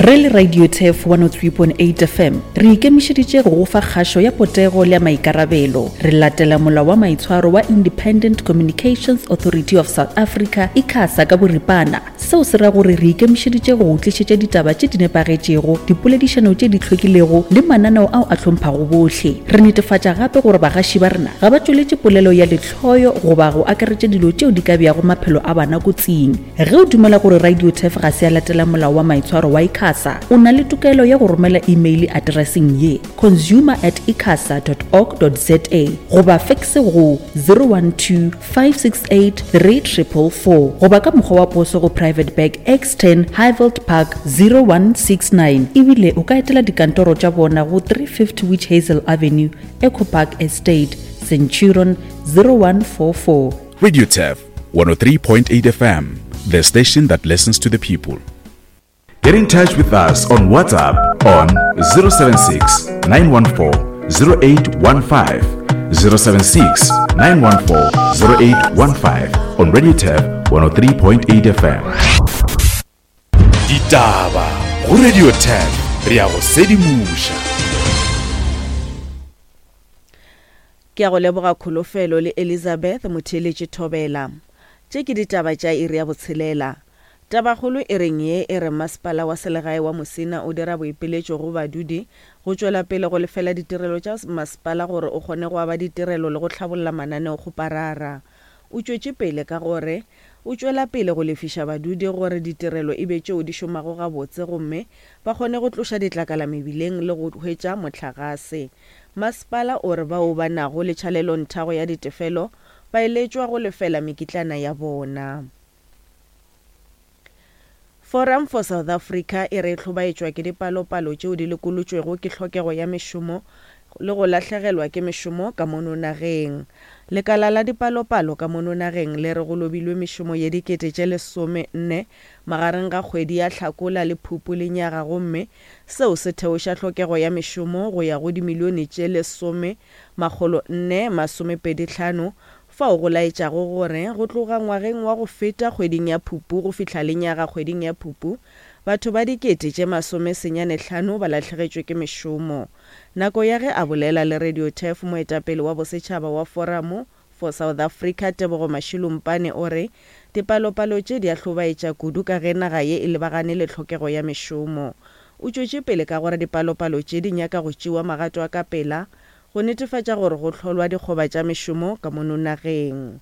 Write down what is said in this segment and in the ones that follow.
Re le Radio Turf 103.8 FM, re ikemišeditše go go fa kgašo ya potego le ya maikarabelo. Re latela molao wa maitshwaro wa Independent Communications Authority of South Africa, ICASA, ka boripana. Seo se ra gore re ikemišeditše go go tlišetša ditaba tše di nepagetšego, dipoledišano tše di hlwekilego le mananeo ao a hlomphago bohle. Re netefatša gape gore bagaši ba rena ga ba tšweletše polelo ya lehloyo goba go akaretša dilo tšeo di ka beago maphelo a bana kotsing. Ge o dumela gore Radio Turf ga se ya latela molao wa maitshwaro wa ICASA, o na le tokelo ya go romela imeile atereseng ye, consumer at icasa dot org dot za goba fekse go 012 568 3444 goba ka mokgwa wa poso go Private Bag X10 Highveld Park 0169 ebile o ka etela dikantoro tša bona go 350 Witch Hazel Avenue, Echo Park Estate, Centurion 0144. Radio Turf 103.8 FM, the station that listens to the people. Get in touch with us on WhatsApp on 076 914 0815. 076 914 0815 on Radio Turf 103.8 FM. Ditaba go Radio Turf re a go sedimoša. Ke a go leboga Kholofelo le Elizabeth Motheeletši Thobela. Tše ke ditaba tša iri ya botshelela. Tabakgolo e reng ye e re Masepala wa Selegae wa Musina o dira boipiletšo go badudi go tšwela pele go lefela ditirelo tša masepala gore o kgone go aba ditirelo le go hlabolla mananeokgoparara. O tšwetše pele ka gore o tšwela pele go lefiša badudi gore ditirelo e be tšeo di šomago gabotse gomme ba kgone go tloša ditlakala mebileng le go hwetša mohlagase. Masepala o re bao ba nago le tšhalelonthago ya ditefelo ba eletšwa go lefela mekitlana ya bona. Forum for South Africa e re e hlobaetšwa ke dipalopalo tšeo di lekolotšwego ke hlokego ya mešomo le go lahlegelwa ke mešomo ka mono nageng. Lekala la dipalopalo ka mono nageng le re go lobilwe mešomo ye dikete tše lesomenne magareng ga kgwedi ya Hlakola le Phupu lenyaga gomme seo se theoša hlokego ya mešomo go ya go dimilione tše lesome makgolo nne masomepedi hlano fao go laetšago gore go tloga ngwageng wa go feta kgweding ya Phupu go fihla lenyaga kgweding ya Phupu, batho ba dikete tše masomesenyanehlano ba lahlegetšwe ke mešomo. Nako ya ge a bolela le Radio Turf, moetapele wa bosetšhaba wa Foramo for South Africa, Tebogo Mashilumpane o re dipalopalo tše di a hlobaetša kudu ka ge naga ye e lebagane le tlhokego ya mešomo. O tšwetše pele ka gore dipalopalo tše di nyaka go tšewa magato a ka pela go netefatša gore go hlolwa dikgoba tša mešomo ka mono nageng.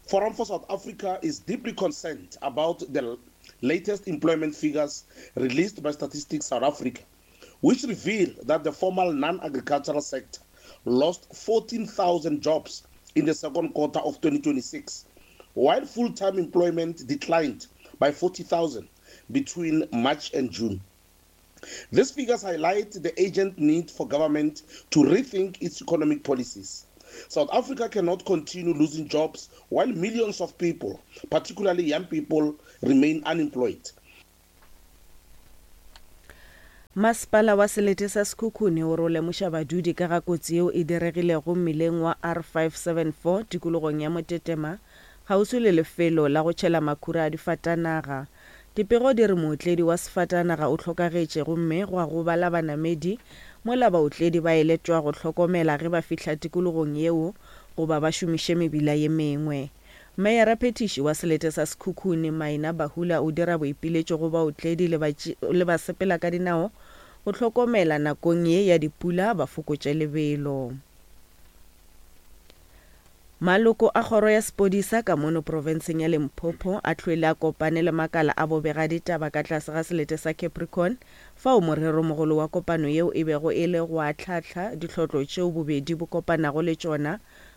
Forum for South Africa is deeply concerned about the latest employment figures released by Statistics South Africa, which reveal that the formal non-agricultural sector lost 14,000 jobs in the second quarter of 2026, while full-time employment declined by 40,000 between March and June. These figures highlight the urgent need for government to rethink its economic policies. South Africa cannot continue losing jobs while millions of people, particularly young people, remain unemployed. Masepala wa selete sa Sekhukhune o re o lemoša badudi ka ga kotsi yeo e diregilego mmileng wa R574 tikologong ya Motetema kgauswi le lefelo la go tšhela makhura a difatanaga. Dipego di re mootledi wa sefatanaga o hlokagetše gomme gwa gobala banamedi mola baotledi ba eletšwa go hlokomela ge ba fihla tikologong yeo goba ba šomiše mebila ye mengwe. Meyara-phethiši wa selete sa Sekhukhune, Maina Bahula o dira boipiletšo go baotledi le le basepela ka dinao go hlokomela nakong ye ya dipula ba fokotše lebelo. Maloko a kgoro ya sepodisa ka mono profenseng ya Limpopo a hlwele a kopane le makala a bobegaditaba ka tlase ga selete sa Capricorn fao moreromogolo wa kopano yeo e bego e le go ahlaahla dihlotlo tšeo bobedi bo kopanago le tšona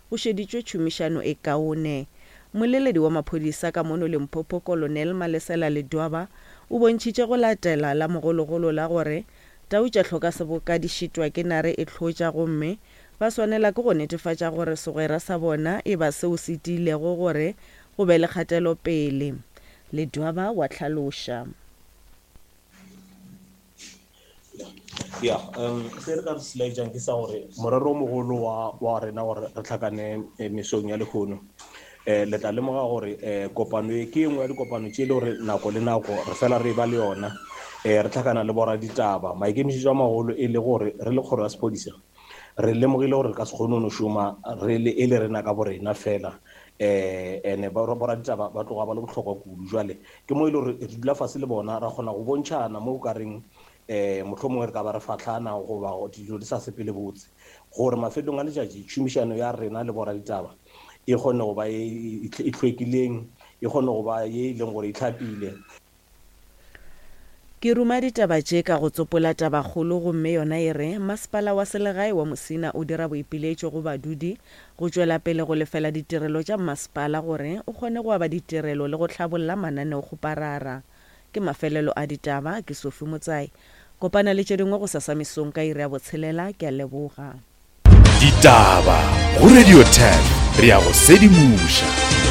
go šeditšwe tšhomišano e kaone. Mmoleledi wa maphodisa ka mono Limpopo Colonel Malesela Ledwaba o bontšhitše go latela la mogologolo la gore tau tša hloka seboka di šitwa ke nare e hlotša gomme Ba swanela ke go netefatša gore segwera sa bona e ba seo se tiilego gore go be le kgatelopele. Ledwaba wa hlaloša. Ya, um se re ka se laetšang ke sa gore morero o mogolo wa, wa rena gore re hlakane eh, mesong ya lehono Um le tla lemoga gore um kopano ye ke e nngwe ya dikopano tše e le gore nako le nako re fela re ba le yona um re tlhakana le boraditaba. Maikemišetšo a magolo e le gore re le kgoro ya sephodisa re lemogile gore re ka se kgone go no šoma re le e le rena ka borena fela um ene boraditaba ba tloga ba le bohlokwa kudu. Jwale ke mo e le gore re dula fase le bona ra kgona go bontšhana mo o ka reng um mohlomongwe re ka ba re fahlana goba dilo di sa sepele botse gore mafelong a letšatši tšhomišano ya rena le boraditaba e kgone go ba e, e hlwekileng e kgone go ba ye e leng gore e hlapile. Ke ruma ditaba tše ka go tsopola tabakgolo gomme yona e re, Masepala wa Selegae wa Musina o dira boipiletšo go badudi go tšwela pele go lefela ditirelo tša mmasepala gore o kgone go aba ditirelo le go hlabolla mananeokgoparara. Ke mafelelo a ditaba, ke Sophie Motsai. Kopana le tše dingwe gosasa mesong ka iri ya botshelela, ke a leboga. Ditaba go Radio 10 re a go sedimoša.